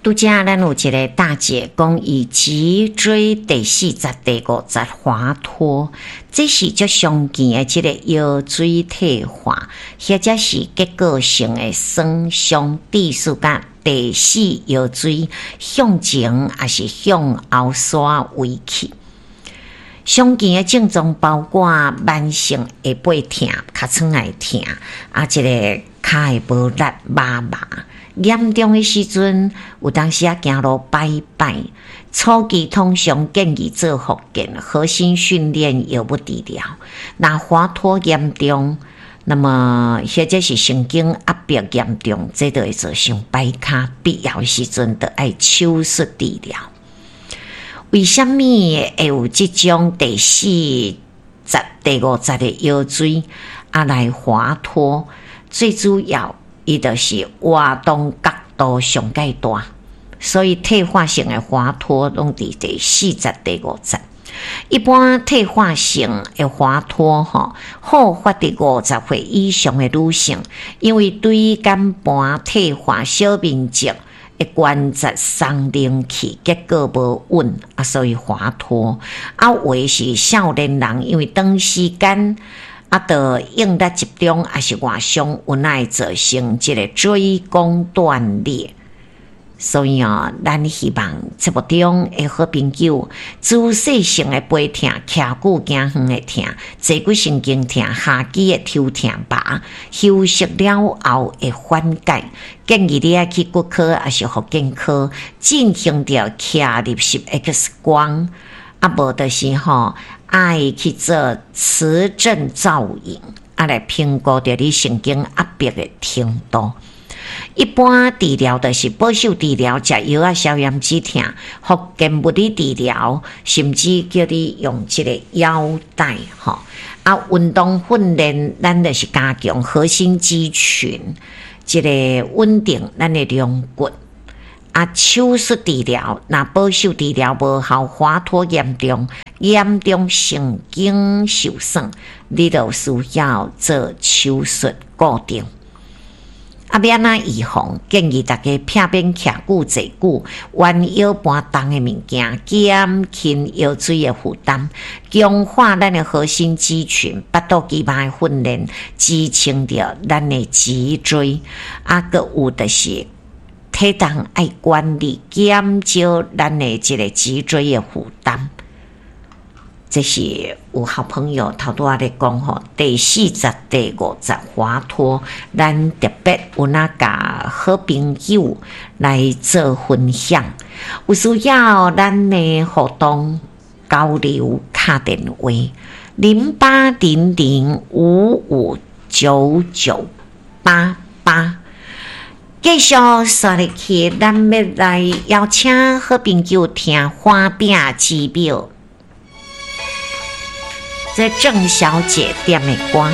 拄才咱有一个大姐講，伊脊椎第四節、第五節滑脫，這是足常見的這個腰椎退化，或者是結構性的損傷，致使甲第四腰椎向前抑是向後徙位去。常見的症狀包括慢性下背疼、尻川會疼，啊，這個跤會無力、麻麻。嚴重的時陣，有當時仔行路擺擺。初期通常建議做復健、核心訓練、藥物治療。若滑脫嚴重，那麼或者是神經壓迫嚴重，這就會造成擺跤，必要的時陣就愛手術治療。為啥物會有這種第四節、第五節的腰椎啊來滑脫？最主要，伊就是活動角度上蓋大，所以退化性的滑脫攏佇第四節、第五節。一般退化性的滑脫吼，好發佇50歲以上的女性，因為椎間盤退化小面積的關節鬆靈去，結果無穩啊，所以滑脫。啊，有的是少年人，因為長時間啊，著應力集中，抑是外傷，有會造成這個椎弓斷裂。所以哦，咱希望節目中的好朋友，姿勢性的背痛、徛久行遠會疼、坐骨神經痛、下肢的抽痛麻，休息了後會緩解。建議你愛去骨科抑是復健科進行著徛入式 X 光，啊，無就是吼，愛去做磁振造影，啊來評估著你神經壓迫的程度。一般治療就是保守治療，食藥仔消炎止痛，復健物理治療，甚至叫你用這個腰帶吼。啊，運動訓練，咱就是加強核心肌群，這個穩定咱的龍骨。啊，手術治療，若保守治療無效，滑脫嚴重，嚴重神經受損，你就需要做手術固定。啊，欲按怎預防？建議大家避免徛久、坐久，彎腰搬重的物件，減輕腰椎的負擔，強化咱的核心肌群，腹肚肌肉的訓練，支撐著咱的脊椎。啊，閣有就是體重愛管理，減少咱的這個脊椎的負擔。這是有好朋友頭拄仔咧講吼，第四節、第五節滑脫，咱特別有哪共好朋友來做分享。有需要咱的互動交流，敲電話0800559988。繼續煞入去，咱欲來邀請好朋友聽花餅之廟。這鄭小姐點的歌。